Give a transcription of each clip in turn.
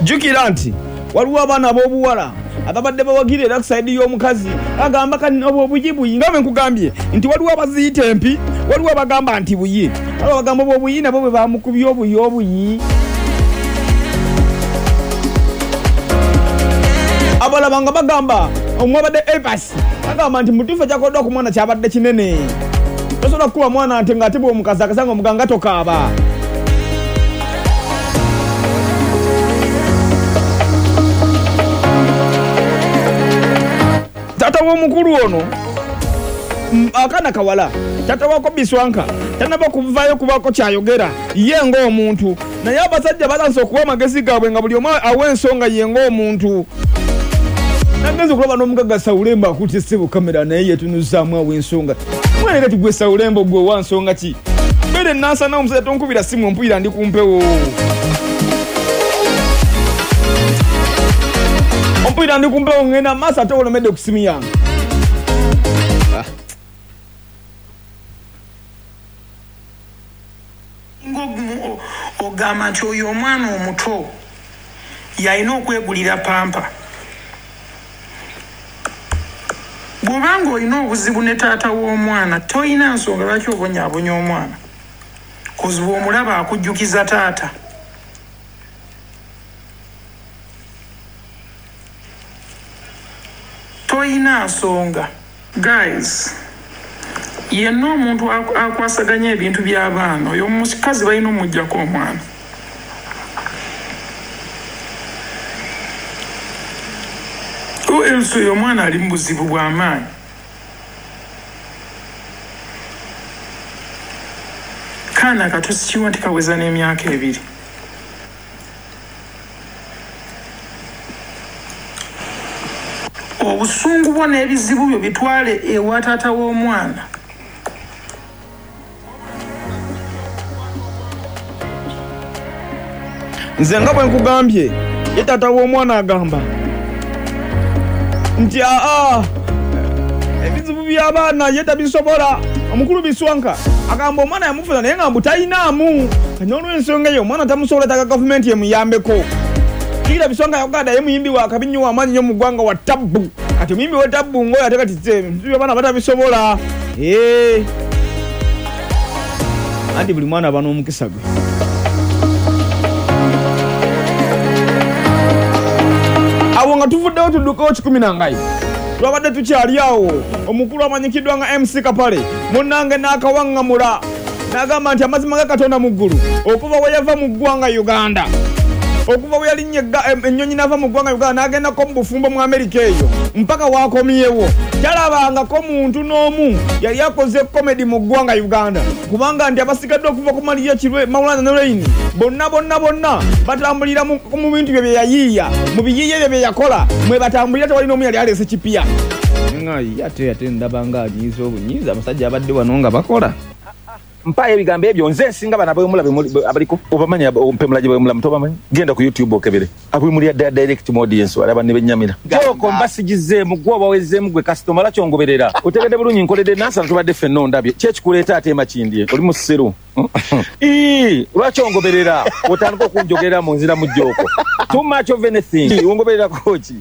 Jjukira nti waliwo abaana ab'obuwala ababadde bawagira era ku sayidi y'omukazi agamba kati obwo obuyi buyi nga bwe nkugambye nti waliwo abaziyita empi, waliwo abagamba nti buyi, waliwo abagamba obwo obuyi nabwo bwe bamukubye obuyi obuyi. Abalaba nga bagamba omwabadde Evas agamba nti mutuufu ekyakoleddwa ku mwana kyabadde kinene. Tosobola kukuba mwana nti ng'ate bw'omukazakaza ng'omugamba nga tokaaba. Taata w'omukulu ono akaana kawala taata wako Biswanka tanaba kuvaayo kubaako kyayogera ye ng'omuntu naye abasajja batandise okuwa amagezi gaabwe nga buli omu awa ensonga ye ng'omuntu. Nagenze okulaba n'omugagga Saulembo akutte ssebo kamera naye yetunuzaamu awa ensonga. Mwana kati gwe Saulembo gwe owa nsonga ki? Beera e Nansana omusajja tonkubira ssimu ompulira ndi ku mpewo. Ompulira ndi ku mpewo ngenda maaso ate olemedde ku ssimu yange. Ah. Ogamba nti oyo omwana omuto yalina okwegulira pampa. Bw'oba ng'olina obuzibu ne taata w'omwana tolina nsonga lwaki obonyaabonya omwana coz bw'omulaba akujjukiza taata. Toyina nsonga. Guys yenna omuntu akwasaganya ebintu byabaana oyo omukazi balina omujjako omwana. Or else oyo omwana ali mubuzibu bwamaanyi. Kaana kato sikiwa nti kaweza nemyaka ebiri. Obusungu bwo n'ebizibu byo bitwale ewa taata w'omwana. Nze nga bwe nkugambye, ye taata w'omwana agamba nti aa ebizibu by'abaana ye tabisobola. Omukulu Biswanka agamba omwana yamufuna naye nga mbu talinaamu kati n'olwensonga eyo omwana tamusobola yetaaga gavumenti emuyambeko. Jjukira Biswanka yagamba ye muyimbi wa kabi nnyo wa maanyi nnyo mu ggwanga wa ttabbu kati omuyimbi wa ttabbu ng'oyo ate kati ebizibu by'abaana batabisobola. Eeh anti buli mwana aba n'omukisa gwe. Awo nga tuvuddewo tuddukewo kikumi na ngayi. Twabadde tukyali awo omukulu amanyikiddwa nga MC Kapale munnange n'akawaŋŋamula n'agamba nti amazima ga Katonda mu ggulu okuva we yava mu ggwanga Uganda okuva we yalinnya ennyonyi n'ava mu ggwanga Uganda n'agendako mu bufumbo mu Amerika eyo mpaka w'akomyewo talabangako muntu n'omu yali akoze komedi mu ggwanga Uganda kubanga nti abasigadde okuva ku Maria Kirwe, Maulana ne Reign bonna bonna bonna batambulira mu mu bintu bye bye yayiiya, mu biyiiye bye bye yakola mwe batambulira tewali n'omu yali aleese kipya. Nga ye ate ate ndaba nga anyiiza obunyiiza abasajja abadde wano nga bakola. Mpaayo ebigambo ebyo nze nsinga bano abawemula abaliko obamanyi mpemula gyebawemulamu tobamanyi genda ku YouTube okebere abwemulira ddala direct mu audience walaba nebenyamira Joko mba sigizeemu gwe oba wezzeemu gwe customer lwaki ongoberera otegedde bulungi nkoledde Nansana tubadde ffenna ondabye ki ekikuleeta ate e Makindye oli musiru Ii lwaki ongoberera otandika okunjogerera mu nzira mu joko too much of anything ongobererako ki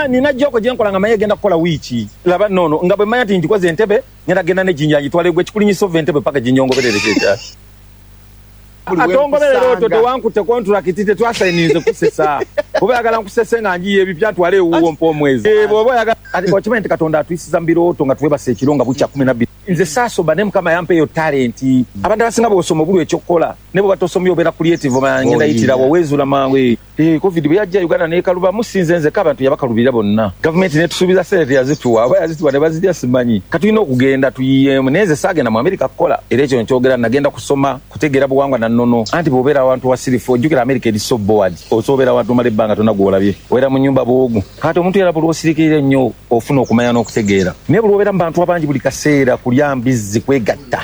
nina joko gyenkola nga manyi egenda kukola wiiki laba nono nga bwe manya nti ngikoze entebe Ngenda genda ne Jinja ngitwale gwe kikulinyisa ova Entebbe paka Jinja ongoberere kyekyaki. Buli Tongoberera otyo wenkusanga. tewankutte kontulakiti tetwasayininze kusesa. Bwoba oyagala nkusese nga njiye ebipya ntwale ewuwo mpe omwezi. Eh, bwoba oyagala ati okimanyi nti Katonda atuyisiza mu birooto nga twebase ekiro nga bukya 12. Nze saasoma naye Mukama yampa eyo talenti. Abantu abasinga bwosoma obulwa ekyokukola naye bwoba tosomye obeera creative omanya ngenda yitirawa Oyiiya. wezuula mangu. Eh. Eeh covid bweyajja Uganda nekalubamu si nze nzeka abantu yabakalubirira bonna. Gavumenti netusuubiza sente teyazituwa oba yazituwa nebazirya simanyi. Kati tulina okugenda tuyiyeemu naye nze saagenda mu America kukola era ekyo nkyogera nagenda kusoma kutegeera buwangwa na nnono anti bwobeera awantu wasirifu ojjukira America eri so bored osobola obeera awantu nomala ebbanga tolina gwolabye obeera mu nyumba bwogu kati omuntu era buli lwosirikirira ennyo ofuna okumanya n'okutegeera naye buli lwobeera mu bantu abangi buli kaseera kulya mbizzi kwegatta.